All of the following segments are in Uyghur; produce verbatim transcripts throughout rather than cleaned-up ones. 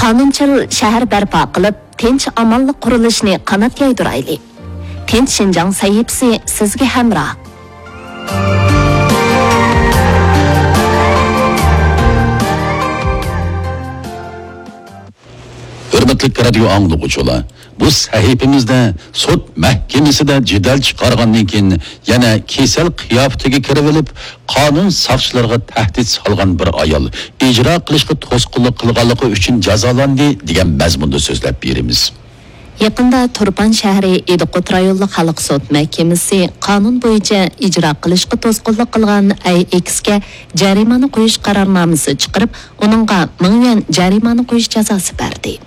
ئانۇنچىل شەھەر بەرپا قىلىپ، تىنچ-ئامانلىق قۇرۇلۇشىنى قانات يايدۇرايلى. تىنچ شىنجاڭ سەھىپىسى سىزگە ھەمراھ. ھۆرمەتلىك رادىيو ئاڭلىغۇچىلار، بۇ سەھىپىمىزدە سوت مەھكىمىسىدە جېدەل چىقارغاندىن كېيىن يەنە كېسەل قىياپىتىگە كىرىۋېلىپ، قانۇن ساقچىلىرىغا تەھدىت سالغان بىر ئايال ئىجرا قىلىشقا توسقۇنلۇق قىلغانلىقى ئۈچۈن جازالاندى، دېگەن مەزمۇندا سۆزلەپ بېرىمىز. يېقىندا تۇرپان شەھىرى ئىدىقۇت رايونلۇق خەلق سوت مەھكىمىسى قانۇن بويىچە ئىجرا قىلىشقا توسقۇنلۇق قىلغان ئەي ئېكسكە جەرىمانە قويۇش قارارنامىسى چىقىرىپ، ئۇنىڭغا مىڭ يۈەن جەرىمانە قويۇش جازاسى بەردى.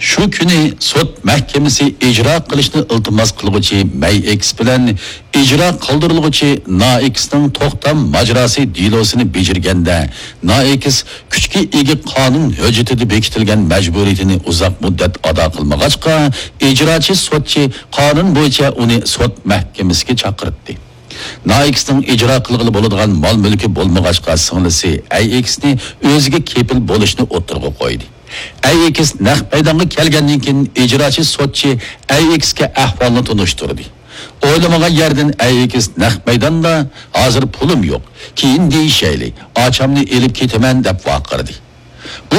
شۇ كۈنى سوت مەھكىمىسى ئىجرا قىلىشنى ئىلتىماس قىلغۇچى مەي ئېكس بىلەن ئىجرا قىلدۇرۇلغۇچى نائېكسنىڭ توختام ماجىراسى دېلوسىنى بېجىرگەندە، نائېكس كۈچكە ئىگە قانۇن ھۆججىتىدە بېكىتىلگەن مەجبۇرىيىتىنى ئۇزاق مۇددەت ئادا قىلمىغاچقا، ئىجراچى سوتچى قانۇن بويىچە ئۇنى سوت مەھكىمىسىگە چاقىرتتى. نائېكسنىڭ ئىجرا قىلغىلى بولىدىغان مال-مۈلكى بولمىغاچقا، سىڭلىسى ئەي ئېكسنى ئۆزىگە كېپىل بولۇشنى ئوتتۇرىغا قويدى. ئەي ئېكس نەق مەيدانغا كەلگەندىن كېيىن، ئىجراچى سوتچى ئەي ئېكسكە ئەھۋالنى تونۇشتۇردى. ئويلىمىغان يەردىن ئەي ئېكس نەق مەيداندا، «ھازىر پۇلۇم يوق، كېيىن دېيىشەيلى، ئاچامنى ئېلىپ كېتىمەن» دەپ ۋارقىرىدى. بۇ